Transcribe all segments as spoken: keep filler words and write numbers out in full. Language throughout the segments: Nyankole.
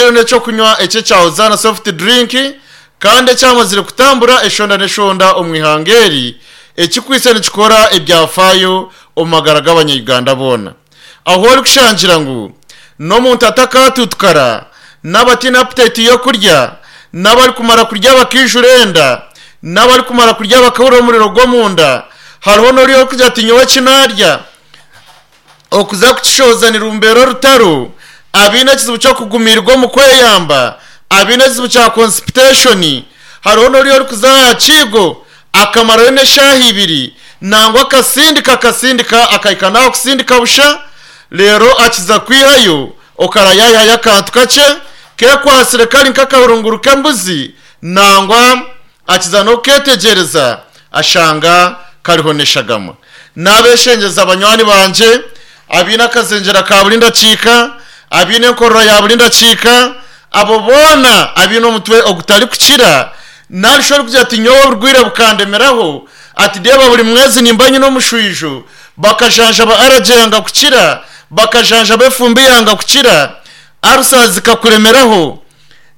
Kino n'ekyokunywa eky'ekya Hosanna soft drink kandi ekyamazire kutambura eshonda n'eshonda omu ihanga eri, ekikwitse nikikora ebyafaayo omu magara g'abanya-Uganda boona. Ahu orikushangira ngu n'omuntu atakatutukara, n'abataine appetite y'okurya, n'abarikumara kurya bakaijura enda, n'abarikumara kurya bakahurira omuriro gw'omunda, hariho n'ori orikugira ati nyowe eki naarya okuza kukishohoza nirumbeera orutaro, abaine ekizibu ky'okugumirwa omu kweyamba, abaine ekizibu kya constipation, hariho n'ori orikuza aha kiigo akamarayo n'eshaaha ibiri nangwa akasindika akasindika akahika n'aha kusindika busha, reero akiza kwihayo okarayayihayo akantu kakye kekwatsire kari nk'akahurunguru k'embuzi nangwa akiza n'okuketegyereza ashanga kariho n'eshagama. Nabeshengyeza banywani bangye abaine akazengyera ka buri ndakiika, abaine enkorora ya buri ndakiika, abo boona abaine omutwe ogutarikukira, narishi orikugira ati nyowe oburwaire bukandemeraho, ati reeba buri mwezi nimba nyine omushwijo, bakajanjaba allergy yanga kukira, bakajanjaba efumbi yanga kukira, ulcers zikakuremeraho,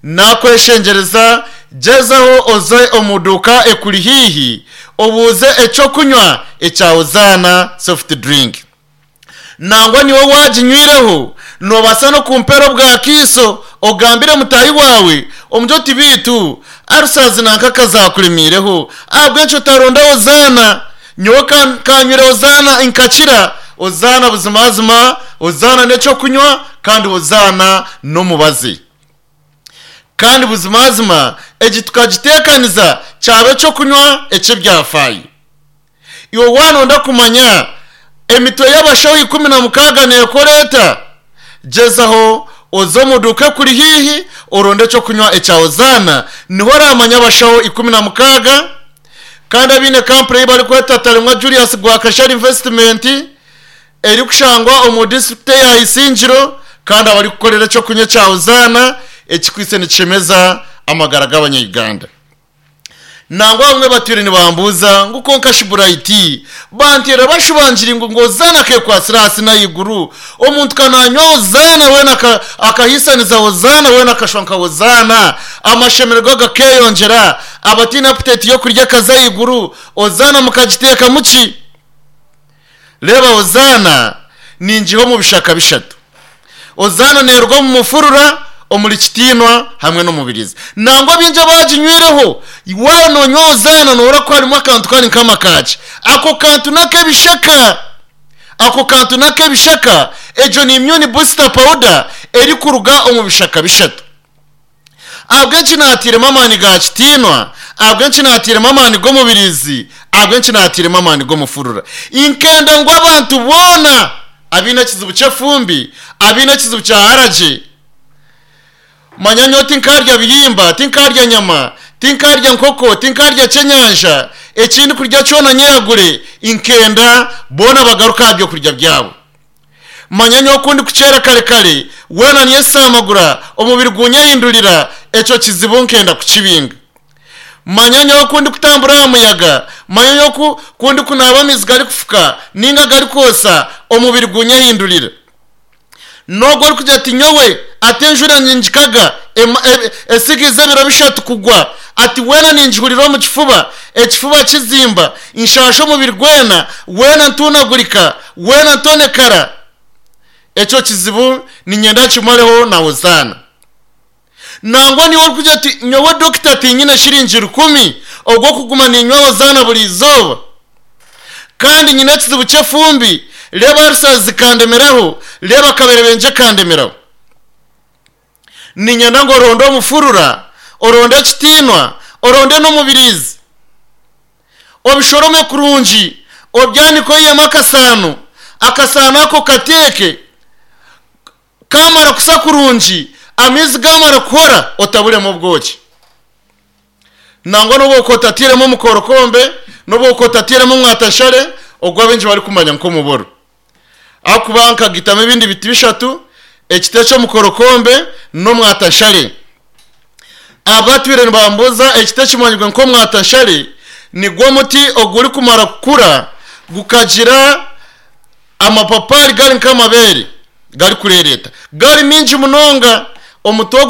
nakweshengyereza gyezaho oze omu duuka ekuri haihi obuuze ekyokunywa ekya Hosanna soft drink. Nangwa niiwe waaginywireho noobaasa n'okumpeera obwakaiso ogambire mutaahi waawe omugire oti beitu ulcers nanka kazakuremiireho ahabw'enki otaronda Hosanna? Nyowe kanywire Hosanna nkakira. Hosanna buzimazima, Hosanna n'ekyokunywa kandi Hosanna n'omubazi. Kandi buzimazima egi tukagiteekaniza kyaba ekyokunywa eky'ebyafaayo. Iwe waanonda kumanya emitwe y'abashaho ikumi na mukaaga neekora eta, gyezaho oze omu duuka ekuri haihi oronde ekyokunywa ekya Hosanna, niho oraamanya abashaho ikumi na mukaaga kandi abaine kampuni ei barikweta Taremwa Julius Gwakashara Investment erikushangwa omu disiturikiti eya Isingiro kandi abarikukorera ekyokunywa ekya Hosanna ekikwitse nikishemeza amagara g'abanya-Uganda. Nangwa abamwe batwire nibambuuza ngu kwonka shi Bright, banteera bashubangire ngu ngu Hosanna akekwatsire ahansi n'ahaiguru, omuntu ka nanywa Hosanna weena akahiisaniza Hosanna weena akashwa nka Hosanna, amashemererwa gakeyongyera, abataine appetite y'okurya akaza ahaiguru, Hosanna mukagiteekamu ki? Reeba Hosanna ningiha omu bishaka bishatu. Hosanna neeruga omu mufurura, omuri kitiinwa hamwe n'omubirizi. Nangwa baingi abaginywireho, waaba noonywa Hosanna nohurira ku harimu akantu kari nk'amakaaki. Ako kantu n'ak'ebishaka. Ako kantu n'ak'ebishaka. Egyo ni immune booster powder erikuruga omu bishaka bishatu. Ahabw'enki naatairemu amaani ga kitiinwa? Ahabw'enki naatairemu amaani g'omubirizi? Ahabw'enki naatairemu amaani g'omufurura? Nkenda ngu abantu boona abaine ekizibu ky'efumbi, abaine ekizibu kya allergy, manya nyowe tinkarya bihimba, tinkarya nyama, tinkarya nkoko, tinkarya kyenyanja, ekindi kurya kyona nyeyagure, nkenda boona bagaruke aha byokurya byabo. Manya nyowe ku ndikukyera kare kare, weena nyesaamagura, omubiri gunyehindurira, ekyo kizibu nkenda kukibinga. Manya nyowe ku ndikutambura aha muyaga, manya nyowe ku, ku ndikunaaba amaizi garikufuka ninga garikwosa, omubiri gunyehindurira. N'ogwo orikugira ati nyowe ati enjura ningikaga, esigiize ebiro bishatu kugwa, ati weena ningihurira omu kifuba, ekifuba kizimba, nshaasha omubiri gwena, weena ntuunagurika, weena ntonekara. Ekyo kizibu niinyenda nkimareho na Hosanna. Nangwa niiwe orikugira oti nyowe dokita tinyine shiringi rukumi ogw'okuguma niinywa Hosanna buri izooba, kandi nyine ekizibu ky'efumbi, reeba ulcers zikandemeraho, reeba akaberebengye kandemeraho. Niinyenda ngu oronde omufurura, oronde ekitiinwa, oronde n'omubiriizi. Obishorome kurungi, obyanike oihemu akasaano, akasaano ako okateeke, kamara kusa kurungi, amaizi gamara kuhora, otaburemu obwoki. Nangwa n'obu okuba otatairemu omukorokombe, n'obu okuba otatairemu omwatashare, ogu abaingi barikumanya nk'omuboro. Ahakuba nkagitamu ebindi biti bishatu, ekiti eky'omukorokombe n'omwatashare. Abatwire nibambuuza ekiti ekimanyirwe nk'omwatashare nigwo muti ogurikumara kukura gukagira amapapaari gari nk'amabeere garikureereeta gari mingi munonga. Omuti ogwo